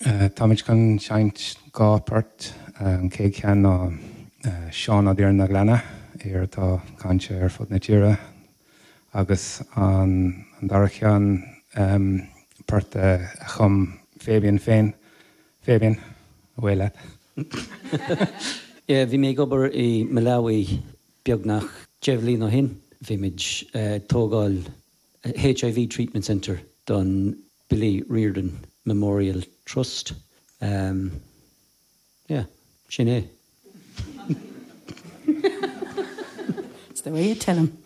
Táimid chun seinnt 2 port. An chéad cheann ná Seán Ó Direáin na Gleanna, aoir atá cáinte ar fud na tíre, agus an dara ceann port a chum Fabian féin. Fabian, away leat. Yeah, bhí mé ag obair i Malawi beagnach 10 bhliain ó shin. Bhí muid ag tógáil HIV Treatment Centre don Billy Riordan Memorial Trust. Yeah, sin é. It's the way you tell 'em.